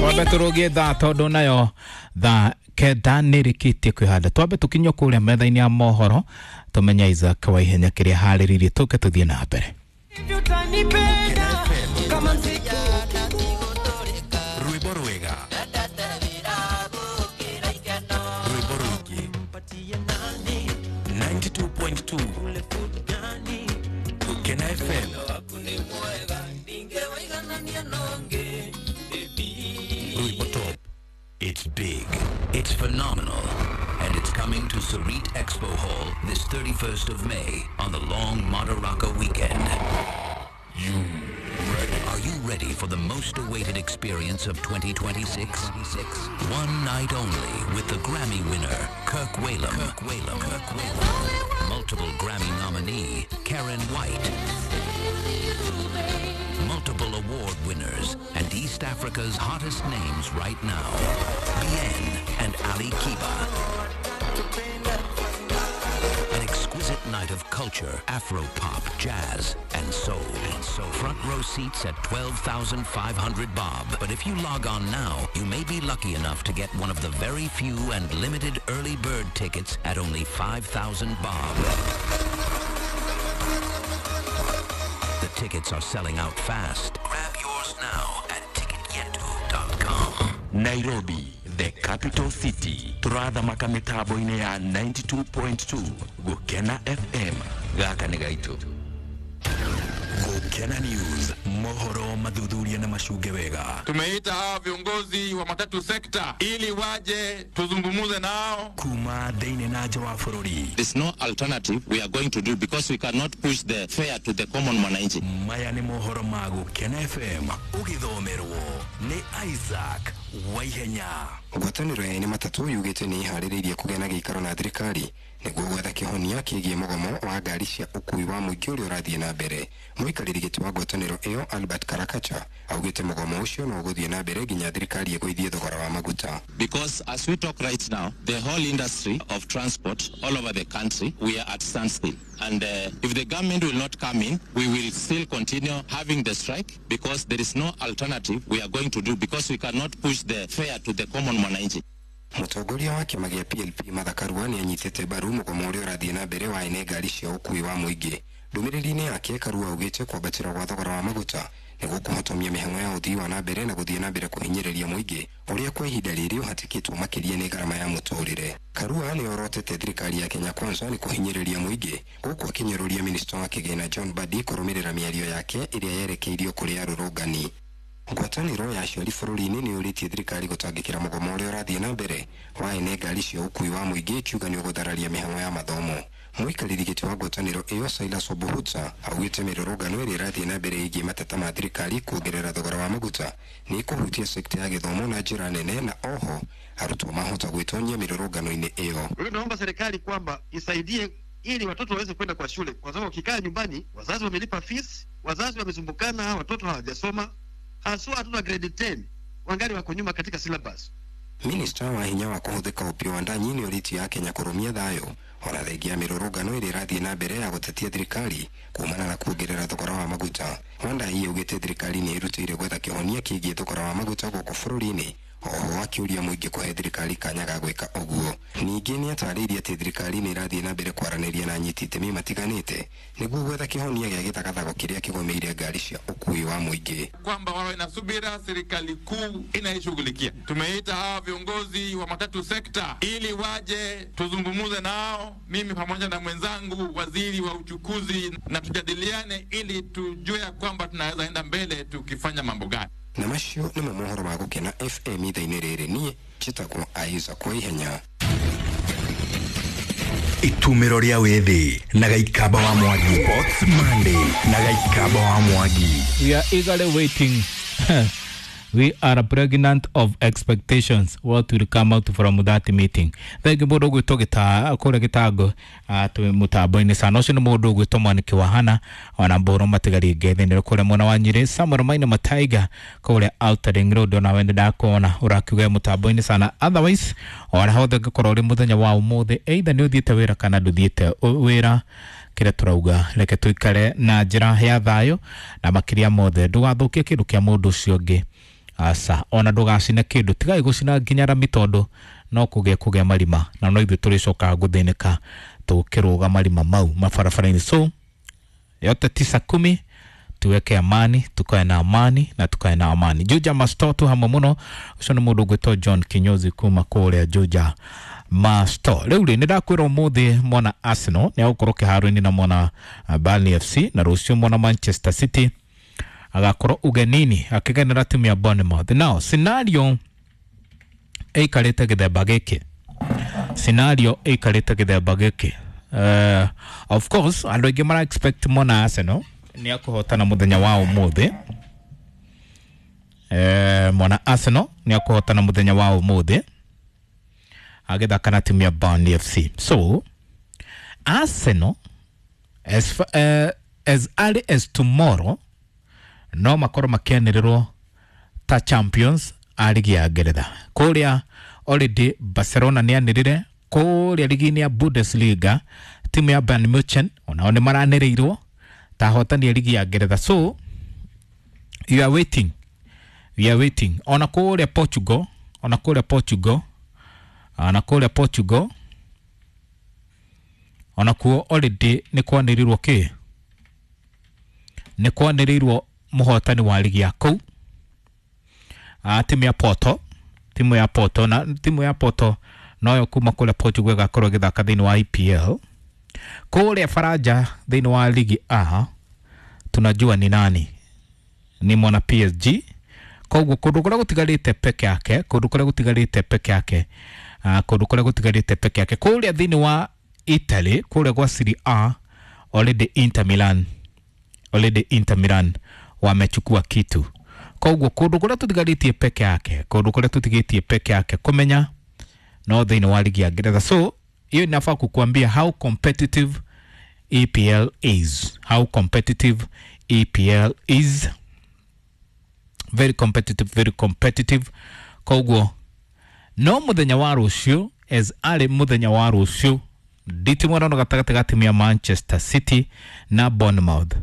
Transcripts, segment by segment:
Twambe tũrũgie thaa tondũ nayo thaa 9 nĩrĩkĩtie kwĩhanda. Twambe tũkinye kũrĩa metha-inĩ ya mohoro tũmenye Isaac wa ihenya kĩrĩa harĩrĩirie tũke tũthiĩ na mbere. Rwĩmbo rwega, rwĩmbo rũingĩ, 92.2 Gukena FM. Rwĩmbo top. It's big, it's phenomenal, and it's coming to Sarit Expo Hall this 31st of May on the long Madaraka weekend. Are you ready for the most awaited experience of 2026? One night only with the Grammy winner, Kirk Whalum. Kirk Whalum. Kirk Whalum. Multiple Grammy nominee, Karen White. Multiple award winners and East Africa's hottest names right now, Bien and Ali Kiba. An exquisite night of culture, Afro-pop, jazz, and soul. Front row seats at 12,500 bob. But if you log on now, you may be lucky enough to get one of the very few and limited early bird tickets at only 5,000 bob. The tickets are selling out fast. Grab yours now at ticketyetu.com. Nairobi, the capital city. Turathamaka mitambo-inĩ ya 92.2 Gukena FM. Gaka nĩ gaitũ. Gukena News, mohoro mathuthuria na macunge wega. Tumeita hawa viongozi wa matatu sekta ili waje tuzungumuze nao. Kuma thĩinĩ na nja wa bũrũri. There's no alternative we are going to do because we cannot push the fare to the common mwananchi. Maya nĩ mohoro ma Gukena FM ũgĩthomerwo nĩ Isaac Waihenya. Ngwatanĩro ya ene matatũ yugĩte nĩ ĩharĩrĩirie kũgĩa na gĩikaro na thirikari nĩguo gwetha kĩhonia kĩgiĩ mũgomo wa ngari cia ũkuui wa mũingĩ ũrĩa ũrathiĩ na mbere. Mũikarĩri gĩtĩ wa ngwatanĩro ĩyo Albert Karakacha augĩte mũgomo ũcio no ũgũthiĩ na mbere nginya thirikari ĩgũithie thogora wa maguta. Because as we talk right now, the whole industry of transport all over the country, we are at standstill. And if the government will not come in, we will still continue having the strike because there is no alternative we are going to do because we cannot push the fare to the common mwananchi. Mũtongoria wa kĩama gĩa PLP Martha Karua nĩ anyitĩte mbaru mũgomo ũrĩa ũrathiĩ na mbere wa ene ngari cia ũkuui wa mũingĩ. Ndũmĩrĩri-inĩ yake Karua augĩte kwambatĩra gwa thogora wa maguta nĩguo kũhotomia mĩhang'o ya ũthii wa na mbere na gũthiĩ na mbere kũhinyĩrĩria mũingĩ ũrĩa kwa ihinda rĩrĩ ũhatĩkĩtwo makĩria nĩ ngarama ya mũtũrĩre. Karua nĩ orotete thirikari ya Kenya Kwanza nĩ kũhinyĩrĩria mũingĩ gũkũ akĩnyũrũria minista wa kĩgĩna John Mbadi kũrũmĩrĩra mĩario yake ĩrĩa yerekeirio kũrĩ arũrũngani. Ngwatanĩro ya aciari bũrũri-inĩ nĩ yũrĩtie thirikari gũtangĩkĩra mũgomo ũrĩa ũrathiĩ na mbere wa ene ngari cia ũkuui wa mũingĩ ĩkiuga nĩ ũgũthararia mĩhang'o ya mathomo. Mũikarĩri gĩtĩ wa ngwatanĩro ĩyo Silas Obuhutsa augĩte mĩrũrũngano ĩrĩa ĩrathiĩ na mbere ĩgiĩ mateta ma thirikari kuongerera thogora wa maguta nĩ ĩkũhutia sekta ya gĩthomo na njĩra nene na oho arutwo mahota gwĩtonyia mĩrũrũngano-inĩ ĩyo. Kwa hiyo naomba serikali kwamba isaidie ili watoto waweze kwenda kwa shule, kwa sababu wakikaa nyumbani, wazazi wamelipa fees, wazazi wamesumbukana, watoto hawajasoma, haswa watoto wa grade 10 wangali wako nyuma katika syllabus. Minista wa hinya wa kũhũthĩka Opiyo Wandayi nĩ orĩtie Akenya kũrũmia thayũ ona thengia ya mĩrũrũngano ĩrĩa ĩrathiĩ na mbere ya gũtetia thirikari kumana na kuongerera thogora wa maguta. Wandayi augĩte thirikari nĩ ĩrutĩire gwetha kĩhonia kĩgiĩ thogora wa maguta gũkũ bũrũri-inĩ, oho akĩũria mũingĩ kũhe thirikari kanya ga gwĩka ũguo. Ningĩ nĩ atarĩirie atĩ thirikari nĩ ĩrathiĩ na mbere kwaranĩria na anyiti itemi matiganĩte nĩguo gwetha kĩhonia gĩa gĩthagathago kĩrĩa kĩgũmĩire ngari cia ũkuui wa mũingĩ. Kwamba wawe na subira, serikali kuu inaishughulikia. Tumeita hawa viongozi wa matatu sekta ili waje tuzungumuze nao, mimi pamoja na mwenzangu waziri wa uchukuzi, na tujadiliane ili tujue ya kwamba tunaweza enda mbele tukifanya mambo gani. Na macio nĩmo mohoro ma Gũkena FM ithaa-inĩ rĩrĩ. Niĩ njĩtagwo Isaac Waihenya. Itumĩro rĩa wĩthĩ na Gaikamba wa Mwangi. Sports Monday na Gaikamba wa Mwangi. We are eagerly waiting. We are pregnant of expectations what will come out from that meeting. Thengi mũndũ ũgwĩtwo gĩta kũrĩa gĩtango twĩ mũtambo-inĩ sana. Ũcio nĩ mũndũ ũgwĩtwo Mwaniki wa Hana ona Mbũrũ Matigari Ngethĩ kũrĩa mwena wa Nyĩrĩ, Samuel Maina Mataiga kũrĩa Outer Ring Road, ona we nĩndakuona ũrakiuga mũtambo-inĩ sana. Otherwise ona hothe ũngĩkorwo ũrĩ mũthenya wa ũmũthĩ, either nĩ ũthiĩte wĩra kana ndũthiĩte wĩra, kĩrĩa tũrauga reke tũikare na njĩra ya thayũ, na makĩria mothe ndũgathũkie kĩndũ kĩa mũndũ ũcio ũngĩ. Aca ona ndũgacine kĩndũ, tigai gũcina nginya rami tondũ no kũgĩa marima na no ithuĩ tũrĩcokaga gũthĩnĩka tũkĩrũga marima mau mabarabara-inĩ. So yote 9:10 tuweke amani, tukae na amani na tukae na amani. Juja Masto tu hamwe muno, ucio nĩ mũndũ ũgwĩtwo John Kinyozi kuma kũrĩa Juja Masto. Rĩu rĩ, nĩ ndakwĩra ũmũthĩ mwana Arsenal nĩ agũkorwo kĩharo-inĩ na mwana Burnley FC, na rũciũ mwana Manchester City agakorwo ugenini akĩgenera timu ya Bournemouth. Now scenario ĩikarĩte gĩthemba gĩkĩ, scenario ĩikarĩte gĩthemba gĩkĩ. Of course andũ aingĩ mara expect mwana Arsenal nĩ akũhotana mũthenya wa ũmũthĩ. Mwana Arsenal nĩ akũhotana mũthenya wa ũmũthĩ agĩthaka na timu ya Burnley FC. So Arsenal as early as tomorrow no makorwo makĩanĩrĩrwo ta champions a ligi ya Ngeretha. Kũrĩa already Barcelona nĩ anĩrĩre, kũrĩa ligi-inĩ ya Bundesliga timu ya Bayern Munich onao nĩ maranĩrĩirwo ta ahotani a ligi ya Ngeretha. So you are waiting, we are waiting. Ona kũrĩa Portugal, ona kũrĩa Portugal, ona kũrĩa Portugal ona kuo already nĩ kwanĩrĩirwo kĩ, nĩ kwanĩrĩirwo mũhotani wa ligi ya kũu, timu ya Porto, timu ya Porto, na timu ya Porto noyo kuma kũrĩa Portugal ĩgakorwo ĩgĩthaka thĩinĩ wa EPL. Kũrĩa Faranja thĩinĩ wa ligi A tunajua ni nani, ni mwana PSG. Koguo kũndũ kũrĩa gũtigarĩte peke yake, kũndũ kũrĩa gũtigarĩte peke yake, kũndũ kũrĩa gũtigarĩte peke yake kũrĩa thĩinĩ wa Italy, kũrĩa gwa Serie A already Inter Milan, already Inter Milan wamechukua kitu. Koguo kũndũ kũrĩa tũtigarĩtie peke yake, kũndũ kũrĩa tũtigĩtie peke yake kũmenya no thĩinĩ wa ligi ya Ngeretha. So hiyo inafaa kukuambia how competitive EPL is, how competitive EPL is. Very competitive, very competitive. Koguo no muthenya wa rũciũ, as arĩ muthenya wa rũciũ nditimwarano gatagatĩ ga timu ya Manchester City na Bournemouth,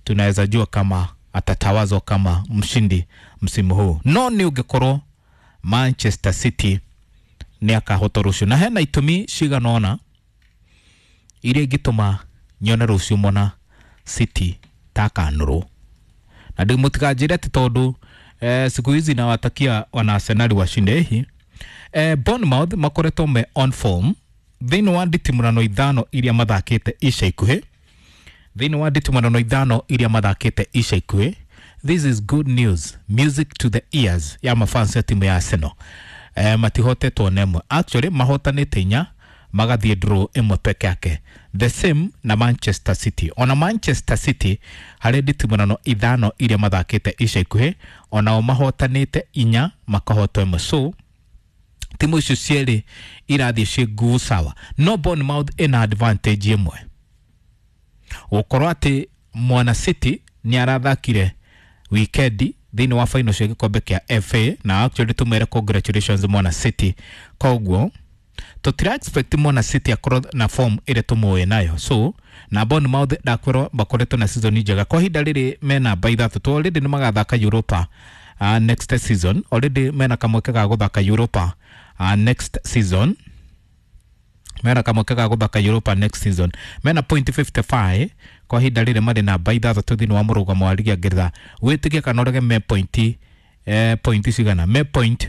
tunaweza jua kama atatawazwa kama mshindi msimu huu. No nĩ ũngĩkorwo Manchester City nĩ akahota rũciũ, na hena itũmi cigana ũna iria ingĩtũma nyone rũciũ mwana City takanũrwo. Na ndĩ mũtikanjĩre atĩ tondũ siku hizi nawatakia wana Arsenal washinde hihi. Bournemouth makoretwo me on form thĩinĩ wa nditimũrano 5 iria mathakĩte ica ikuhĩ, thĩinĩ wa nditimũrano 5 iria mathakĩte ica ikuhĩ. This is good news, music to the ears ya mafans ya timu ya Arsenal. Matihotetwo na ĩmwe, actually mahotanĩte 4 magathiĩ draw ĩmwe peke yake. The same na Manchester City. Ona Manchester City harĩ nditimũrano 5 iria mathakĩte ica ikuhĩ, onao mahotanĩte 4 makahotwo ĩmwe. So timu icio cierĩ irathiĩ ciĩ nguvu sawa, no Bournemouth ĩna advantage ĩmwe, gũkorwo atĩ mwana City nĩ arathakire wikendi thĩinĩ wa final cia gĩkombe kĩa FA, na actually tũmere congratulations mwana City. Koguo tũtira expect mwana City akorwo na form ĩrĩa tũmũĩ nayo. So na Bournemouth ndakwĩrwo makoretwo na season njega kwa ihinda rĩrĩ, mena namba 3 to already nĩ magathaka Europa next season. Already mena kamweke ga gũthaka Europa next season, mena kamweke ga gũthaka Europa next season. Mena point 55 kwa ihinda rĩrĩ, marĩ namba 6 thĩinĩ wa mũrũgamo wa ligi ya Ngeretha. Wĩtĩkie kana ũrege, me point point cigana, me point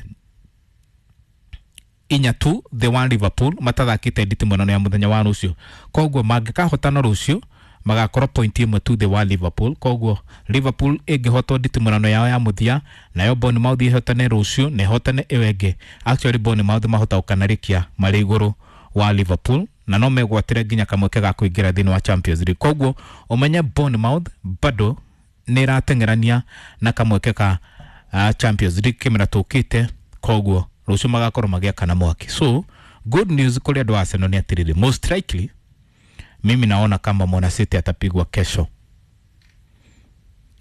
4 tu the one Liverpool matathakĩte nditimũrano ya mũthenya wa rũciũ. Koguo mangĩkahotana rũciũ magakorwo point 1 tu the wa Liverpool. Koguo Liverpool ĩngĩhotwo nditimũrano yao ya mũthia, nayo Bournemouth ĩhotane rũciũ na ĩhotane ĩyo ĩngĩ, actually Bournemouth mahota gũkanarĩkia marĩ igũrũ wa Liverpool na no megwatĩre nginya kamweke ga kũingĩra thĩinĩ wa Champions League. Koguo ũmenye Bournemouth bado nĩ ĩrateng'erania na kamweke ka Champions League kĩmera tũkĩte. Koguo rũciũ magakorwo magĩakana mwaki. So good news kũrĩ andũ a Arsenal nĩ atĩrĩrĩ, most likely mimi naona kama mwana City atapigwa kesho.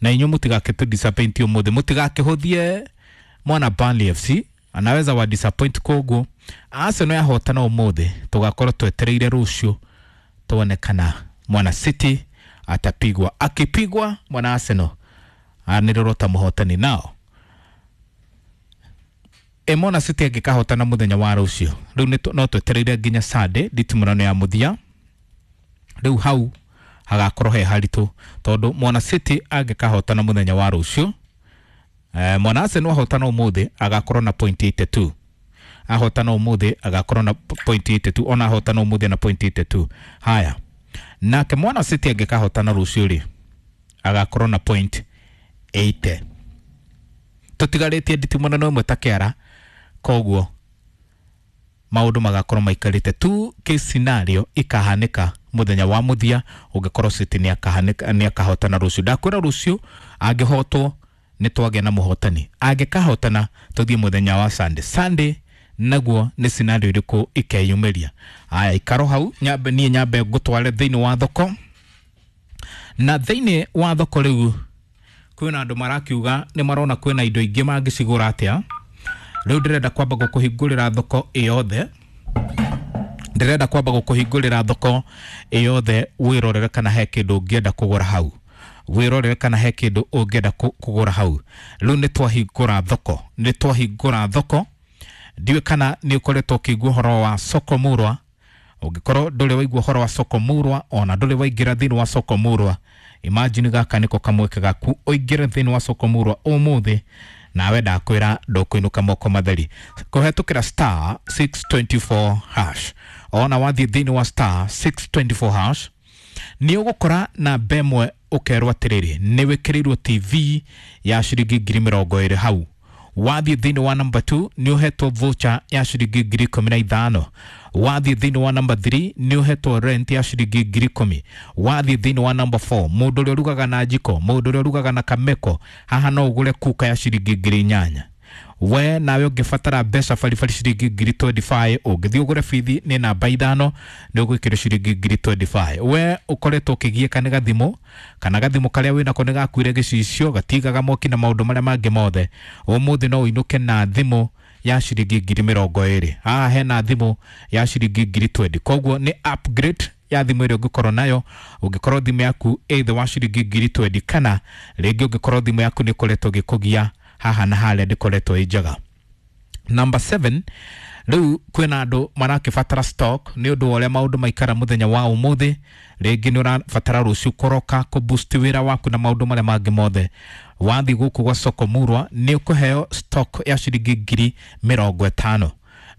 Na inyuĩ mũtigakĩtũ disappoint ũmũthĩ, mũtigakĩhũthie mwana Burnley FC, anaweza wa disappoint. Koguo Arsenal yahotana ũmũthĩ, tũgakorwo twetereire rũciũ tuone kana mwana City atapigwa. Akipigwa mwana Arsenal anĩrĩrwo ta mũhotani. Nao Mwana City angĩkahotana mũthenya wa rũciũ, rĩu no twetereire nginya Sunday nditimũrano ya mũthia. Rĩu hau hagakorwo he haritũ tondũ Mwana City angĩkahotana mũthenya wa rũciũ, Mwana Arsenal ahotana ũmũthĩ agakorwo na point 82. Ahotana ũmũthĩ agakorwo na point 82, ona ahotana ũmũthĩ na point 82. Haya, nake Mwana City angĩkahotana rũciũ rĩ, agakorwo na point 80. Tũtigarĩtie nditimũrano ĩmwe ta kĩara, koguo maũndũ magakorwo maikarĩte tu. Case scenario ikahanĩka mũthenya wa mũthia ũngĩkorwo City nĩ akahotana rũciũ. Ndakwĩra rũciũ angĩhotwo nĩ twagĩa na mũhotani, angĩkahotana tũthiĩ mũthenya wa Sunday. Sunday naguo nĩ scenario ĩrĩkũ ikeyumĩria. Aya, ikaro hau nyambe niĩ nyambe ngũtware thĩinĩ wa thoko. Na thĩinĩ wa thoko rĩu kwĩna andũ marakiuga nĩ marona kwĩna indo ingĩ mangĩcigũra atĩa. Rĩu ndĩrenda kwamba gũkũhingũrĩra thoko ĩyothe, ndĩrenda kwamba gũkũhingũrĩra thoko ĩyothe wĩrorere kana he kĩndũ ũngĩenda kũgũra hau, wĩrorere kana he kĩndũ ũngĩenda kũgũra hau. Rĩu nĩ twahingũra thoko, nĩ twahingũra thoko. Ndiũĩ kana nĩ ũkoretwo ũkĩigua ũhoro wa soko murwa. Ũngĩkorwo ndũrĩ waigua ũhoro wa soko murwa, ona ndũrĩ waingĩra thĩinĩ wa soko murwa, imagine gaka nĩko kamweke gaku ũingĩre thĩinĩ wa soko murwa ũmũthĩ, nawe ndakwĩra ndũkũinũka moko matheri. Kũhetũkĩra star 624 hash, ona wathiĩ thĩinĩ wa star 624 hash nĩ ũgũkora namba ĩmwe ũkerwo atĩrĩrĩ nĩ wĩkĩrĩirwo TV ya ciringi 20,000 hau. Wathiĩ thĩinĩ wa namba 2 nĩ ũhetwo voucher ya ciringi 15,000. Wathiĩ thĩinĩ wa namba 3 nĩ ũhetwo rent ya ciringi 10,000. Wathiĩ thĩinĩ wa namba 4, mũndũ ũrĩa ũrugaga na njiko, mũndũ ũrĩa ũrugaga na kameko, haha no ũgũre kuka ya ciringi 8,000. We nawe ũngĩbatara mbeca baribari ciringi 25,000, ũngĩthiĩ ũgũre bithi nĩ namba 5 nĩ ũgwĩkĩrwo ciringi 25,000. We ũkoretwo ũkĩgiĩka nĩ gathimũ, kana gathimũ karĩa wĩnako nĩ gakuire gĩcicio, gatigaga mwaki na maũndũ marĩa mangĩ mothe, ũmũthĩ no ũinũke na thimũ ya ciringi 20,000. Haha hena thimũ ya ciringi 20,000. Koguo nĩ upgrade ya thimũ ĩrĩa ũngĩkorwo nayo. Ũngĩkorwo thimũ yaku ĩ thĩ wa ciringi 20,000, kana rĩngĩ ũngĩkorwo thimũ yaku nĩ ĩkoretwo ĩgĩkũgia haha na harĩa ndĩkoretwo ĩ njega. Number 7, rĩu kwĩna andũ marakĩbatara stock nĩ ũndũ wa ũrĩa maũndũ maikara mũthenya wa ũmũthĩ. Rĩngĩ nĩ ũrabatara rũciũ kũroka kũboost wĩra waku na maũndũ marĩa mangĩ mothe. Wathiĩ gũkũ gwa soko murwa nĩ ũkũheo stock ya ciringi 50,000,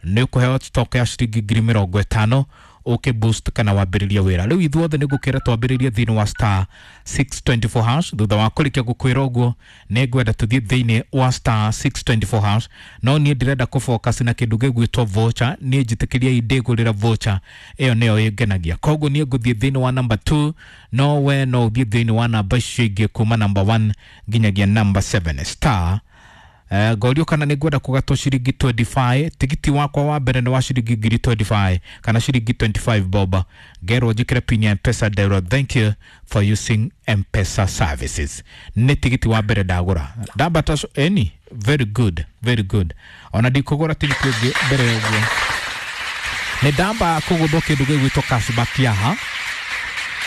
nĩ ũkũheo stock ya ciringi 50,000 ũkĩ boost kana wambĩrĩrie wĩra. Rĩu ithuothe nĩ ngũkĩra twambĩrĩrie thĩinĩ wa star 624 hash. Thutha wa kũrĩkia gũkwĩra ũguo nĩ ngwenda tũthiĩ thĩinĩ wa star 624 hash, no niĩ ndĩrenda kũfocus na kĩndũ gĩgwĩtwo voucher. Niĩ njĩtĩkĩriai ndĩgũrĩra voucher ĩyo nĩyo ĩngenagia, koguo niĩ ngũthiĩ thĩinĩ wa namba 2, no we no ũthiĩ thĩinĩ wa namba icio ingĩ kuma namba 1 nginyagia namba 7. Star ngorio kana nĩ ngwenda kũgatwo ciringi 25. Tigiti wakwa wa mbere nĩ wa ciringi 25,000 kana ciringi 25 boba. Ngerwo njĩkĩre pin ya Mpesa, nderwo thank you for using Mpesa services. Nĩ tigiti wa mbere ndagũra ndambata eni, very good, very good. Ona ndikũgũra tigiti ũngĩ mbere ya ũguo. Nĩ ndamba kũgũthwo kĩndũ gĩgwĩtwo cashback yaha,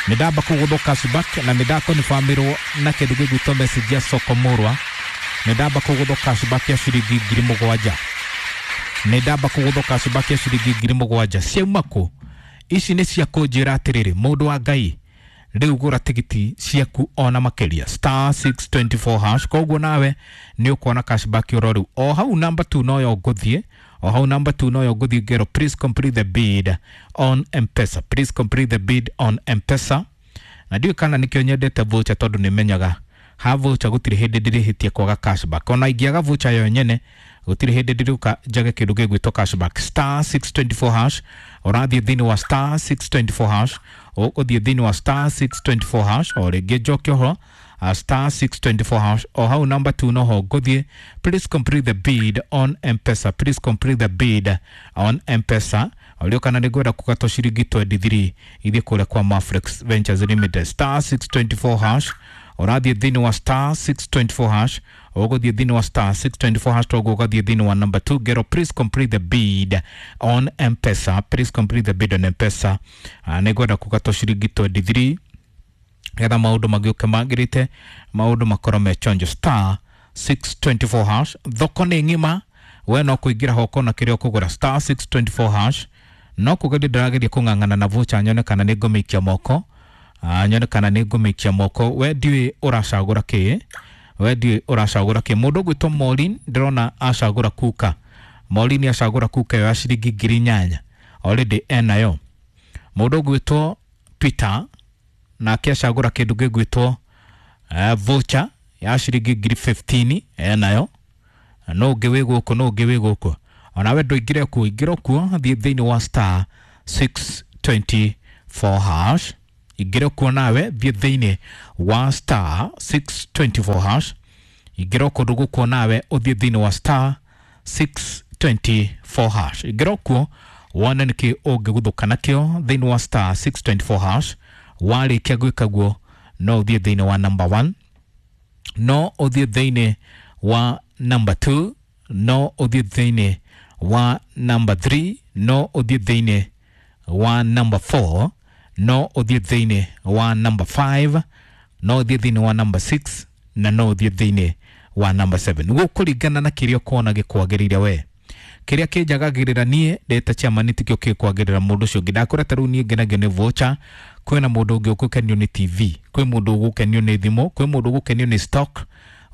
nĩ ndamba kũgũthwo cashback na nĩ ndakonfirmĩrwo na kĩndũ gĩgwĩtwo message ya soko murwa. Nĩ ndamba kũgũthwo cashback ya ciringi 7,000. Nĩ ndamba kũgũthwo cashback ya ciringi 7,000. Ciauma kũ? Ici nĩ cia kũnjĩra atĩrĩrĩ, mũndũ wa Ngai, rĩu gũra tigiti ciaku ona makĩria star 624 hash. Koguo nawe nĩ ũkuona cashback oro rĩu. O hau namba 2 noyo ngũthiĩ, o hau namba 2 noyo ngũthiĩ ngero please complete the bid on Mpesa, please complete the bid on Mpesa. Na ndiũĩ kana nĩkĩo nyendete voucher, tondũ nĩ menyaga ha voucher gũtirĩ hĩndĩ ndĩrĩhĩtie kwaga cashback. Ona ingĩaga voucher yo nyene gũtirĩ hĩndĩ ndĩrĩũka njage kĩndũ gĩgwĩtwo cashback. Star 624 hash, ũrathiĩ thĩinĩ wa star 624 hash, ũgũthiĩ thĩinĩ wa star 624 hash, o rĩngĩ njoke ũhoro star 624 hash, o hau namba 2 noho ngũthiĩ. Please complete the bid on Mpesa, please complete the bid on Mpesa. Ũrĩa kana nĩ ngwenda kũgatwo ciringi 23 ithiĩ kũrĩa kwa Maflex Ventures Limited. Star 624 hash, ũrathiĩ thĩinĩ wa star 624 hash, ũgũthiĩ thĩinĩ wa star 624 hash, toguo ũgathiĩ thĩinĩ wa number 2 ngero please complete the bid on Mpesa, please complete the bid on Mpesa. Nĩ ngwenda kũgatwo ciringi 23 getha maũndũ magĩũke magĩrĩte, maũndũ makorwo me chonjo. Star 624 hash, thoko nĩ ng'ima. We no kũingĩra ho ũkona kĩrĩa ũkũgũra star 624 hash. No kũgeria ndĩrageria kũng'ang'ana na voucher nyone kana nĩ ngũmĩikia moko. Nyone kana nĩ ngũmĩikia moko. We ndiũĩ ũracagũra kĩ, we ndiũĩ ũracagũra kĩ. Mũndũ ũgwĩtwo Maureen ndĩrona acagũra kuka. Maureen acagũra kuka ĩyo ya ciringi 8,000 already enayo. Mũndũ ũgwĩtwo Peter nake acagũra kĩndũ gĩgwĩtwo voucher ya ciringi 15,000 enayo. No ũngĩ wĩ gũkũ, no ũngĩ wĩ gũkũ. Onawe ndũingĩre kuo, ingĩra kuo, thiĩ thĩinĩ wa star 624 hash. Ingĩra kuo nawe, thiĩ thĩinĩ wa star 624 hash. Ingĩra kũndũ gũkuo nawe, ũthiĩ thĩinĩ wa star 624 hash. Ingĩra kuo wone nĩkĩ ũngĩguthũka nakĩo thĩinĩ wa star 624 hash. Warĩkia gwĩka guo, no ũthiĩ thĩinĩ wa number 1, no ũthiĩ thĩinĩ wa number 2, no ũthiĩ thĩinĩ wa number 3, no ũthiĩ thĩinĩ wa number 4, no ũthiĩ thĩinĩ wa number 5, no ũthiĩ thĩinĩ wa number 6 na no ũthiĩ thĩinĩ wa number 7. Gũkũringana na kĩrĩa ũkuona gĩkwagĩrĩire we. Kĩrĩa kĩnjagagĩrĩra niĩ ndĩ ta chairman tikĩo kĩkwagĩrĩra mũndũ ũcio ũngĩ. Ndakwĩra ta rĩu niĩ ngenagio nĩ voucher, kwĩna mũndũ ũngĩ ũgũkenio nĩ TV, kwĩ mũndũ ũgũkenio nĩ thimũ, kwĩ mũndũ ũgũkenio nĩ stock.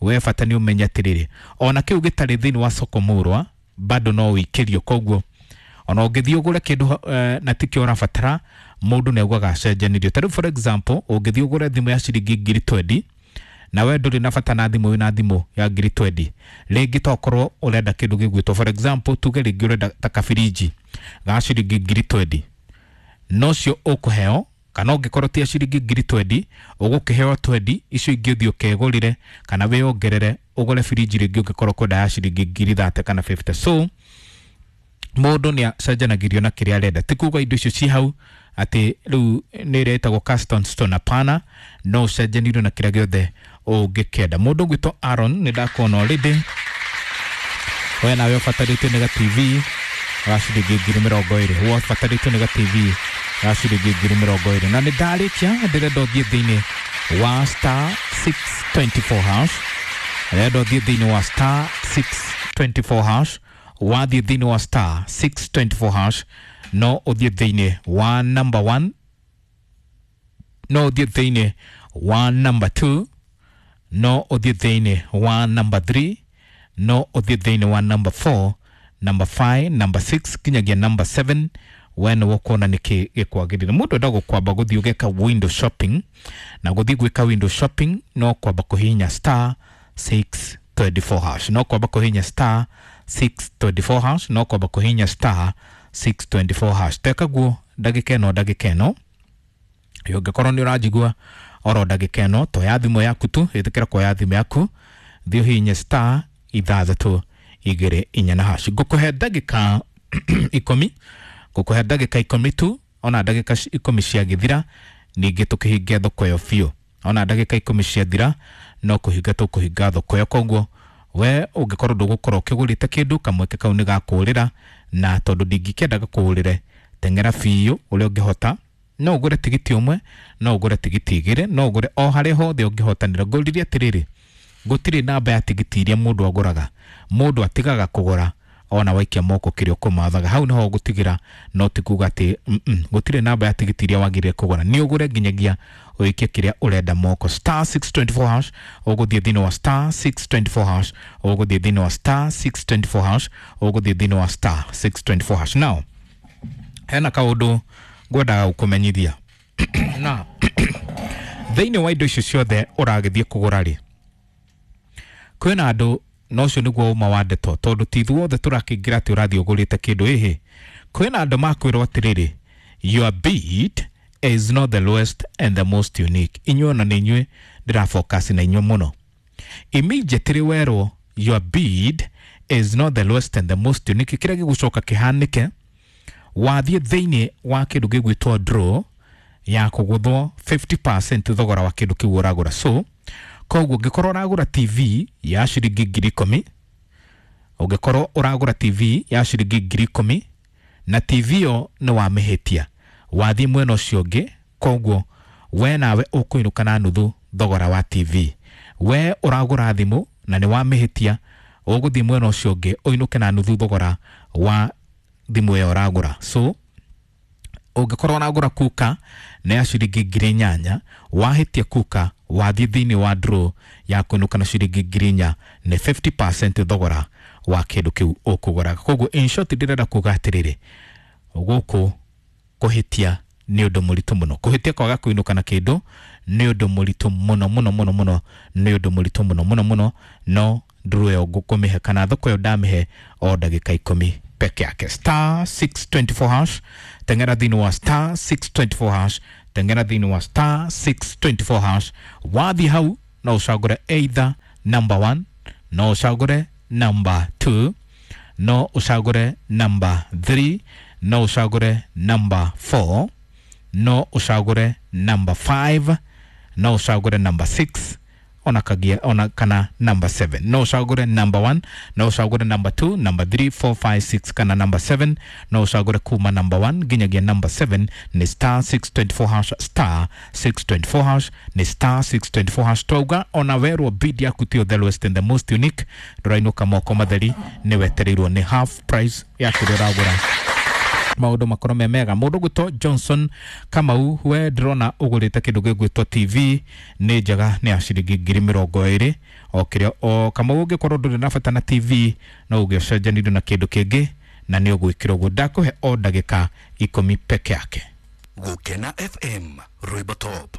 We bata nĩ ũmenye atĩrĩrĩ, ona kĩu gĩtarĩ thĩinĩ wa soko mũrwa bado no ũikĩrio. Koguo ona ũngĩthiĩ ũgũre kĩndũ na tikĩo ũrabatara, mũndũ nĩ augaga acenjanirio. Ta rĩu for example, ũngĩthiĩ ũgũre thimũ ya ciringi 20,000 na we ndũrĩ na bata na thimũ, wĩna thimũ ya 20,000, rĩngĩ tokorwo ũrenda kĩndũ gĩgwĩtwo for example, tuge rĩngĩ ũrenda ta kabiriji ga ciringi 20,000, nocio ũkũheo, kana ũngĩkorwo ti ya ciringi 20,000 ũgũkĩheo 20, icio ingĩ ũthiĩ ũkegũrĩre kana wĩongerere ũgũre biriji rĩngĩ ũngĩkorwo kwenda ya ciringi 30,000 kana 50. So mũndũ nĩ acenjanagĩrio na kĩrĩa arenda. Ti kuga indo icio ci hau atĩ rĩu nĩ ĩrĩa ĩtagwo custom stone, hapana, no ũcenjanĩrio na kĩrĩa gĩothe ũngĩkĩenda. Mũndũ ũgwĩtwo Aaron nĩ ndakuona already, we nawe ũbatarĩtio nĩ ga TV ga ciringi 20,000, we ũbatarĩtio nĩ ga TV ga ciringi 20,000. Na nĩ ndarĩkia, ndĩrenda ũthiĩ thĩinĩ wa star 624 hash, ndĩrenda ũthiĩ thĩinĩ wa star 624 hash. Wathiĩ thĩinĩ wa star 624 hash, no ũthiĩ thĩinĩ wa number 1, no ũthiĩ thĩinĩ wa number 2, no ũthiĩ thĩinĩ wa number 3, no ũthiĩ thĩinĩ wa number 4, number 5, number 6 kinyagia number 7. We nĩ ũkuona nĩkĩ gĩkwagĩrĩire. Mũndũ endagwo kwamba gũthiĩ ũgeka window shopping, na gũthiĩ gwĩka window shopping no kwamba kũhihinya star 624 hash, no kwamba kũhihinya star 624 hash, no kwamba kũhihinya star 624 hash. Teka guo ndagĩka ĩno, ndagĩka ĩno ũngĩkorwo nĩ ũranjigua oro ndagĩka ĩno, toya thimũ yaku tu, ĩtĩkĩra kuoya thimũ yaku, thiĩ ũhihinye star 6 2 4 na hash. Ngũkũhe ndagĩka 10, ngũkũhe ndagĩka 10 tu, ona ndagĩka 10 ciagĩthira ningĩ tũkĩhinge thoko ĩyo biũ. Ona ndagĩka 10 ciathira no kũhinga tũkũhinga thoko ĩyo. Koguo we ũngĩkorwo ndũgũkorwo ũkĩgũrĩte kĩndũ, kamweke kau nĩ gakũrĩra, na tondũ ndingĩkĩenda gakũrĩre, teng'era biũ ũrĩa ũngĩhota. No ũgũre tigiti ũmwe, no ũgũre tigiti 2, no ũgũre o harĩa hothe ũngĩhotanĩra. Ngũririe atĩrĩrĩ, gũtirĩ namba ya tigiti iria mũndũ agũraga, mũndũ atigaga kũgũra ona waikia moko kĩrĩa ũkũmathaga. Hau nĩho ũgũtigĩra, no ti kuga atĩ gũtirĩ namba ya tigiti iria wagĩrĩire kũgũra. Nĩ ũgũre nginyagia ũikie kĩrĩa ũrenda moko. Star 624 hash, ũgũthiĩ thĩinĩ wa star 624 hash, ũgũthiĩ thĩinĩ wa star 624 hash, ũgũthiĩ thĩinĩ wa star 624 hash. Now hena kaũndũ ngwendaga gũkũmenyithia na thĩinĩ wa indo icio ciothe ũragĩthiĩ kũgũra rĩ, kwĩna andũ, na ũcio nĩguo ũma wa ndeto, tondũ ti ithuothe tũrakĩingĩra atĩ ũrathiĩ ũgũrĩte kĩndũ. Ĩhĩ, kwĩna andũ makwĩrwo atĩrĩrĩ, your bid is not the lowest and the most unique. Inyuĩ ona nĩ inyuĩ ndĩrafocus na inyuĩ mũno. Immediately werwo your bid is not the lowest and the most unique, kĩrĩa gĩgũcoka kĩhanĩke, wathiĩ thĩinĩ wa kĩndũ gĩgwĩtwo draw ya kũgũthwo 50% thogora wa kĩndũ kĩu ũragũra. So koguo ũngĩkorwo ũragũra TV ya ciringi 10,000, ũngĩkorwo ũragũra TV ya ciringi 10,000 na TV ĩyo nĩ wamĩhĩtia, wathiĩ mwena ũcio ũngĩ, koguo we nawe ũkũinũka na nuthu thogora wa TV. We ũragũra thimũ na nĩ wamĩhĩtia, Ũgũthiĩ mwena ũcio ũngĩ ũinũke na nuthu thogora wa thimũ ĩyo ũragũra. So ũngĩkorwo ũragũra kuka nĩ ya ciringi 8,000, wahĩtia kuka wathiĩ thĩinĩ wa draw ya kũinũka na ciringi 4,000, nĩ 50% thogora wa kĩndũ kĩu ũkũgũraga. Koguo in short ndĩrenda kuga atĩrĩrĩ, gũkũ kũhĩtia nĩ ũndũ mũritũ mũno. Kũhĩtia kwaga kũinũka na kĩndũ nĩ ũndũ mũritũ mũno mũno mũno mũno, nĩ ũndũ mũritũ mũno mũno mũno. No draw ĩyo ngũkũmĩhe kana thoko ĩyo ndamĩhe o ndagĩka 10 peke yake. Star 624 hash, tengera thĩinĩ wa star 624 hash, tengera thĩinĩ wa star 624 hash. Wathiĩ hau no ũcagũre either number 1, no ũcagũre number 2, no ũcagũre number 3, no ũcagũre number 4, no ũcagũre number 5, no ũcagũre number 6, ona kagia ona kana number 7. No ũcagũre number 1, no ũcagũre number 2, number 3, 4, 5, 6 kana number 7. No ũcagũre kuma number 1 nginyagia number 7. Nĩ star 624 hash, star 624 hash, nĩ star 624 hash. Twauga ona werwo bid yaku tiyo the lowest and the most unique, ndũrainũka moko matheri, nĩ wetereirwo nĩ half price ya kĩrĩa ũragũra, maũndũ makorwo me mega. Mũndũ gwĩtwo Johnson Kamau, we ndĩrona ũgũrĩte kĩndũ gĩgwĩtwo TV, nĩ njega, nĩ ya ciringi 20,000 o kĩrĩa o. Kamau, ũngĩkorwo ndũrĩ na bata na TV no ũngĩcenjanirio na kĩndũ kĩngĩ na nĩ ũgwĩkĩra ũguo. Ndakũhe o ndagĩka 10 peke yake. Gukena FM, Rwimbo Top.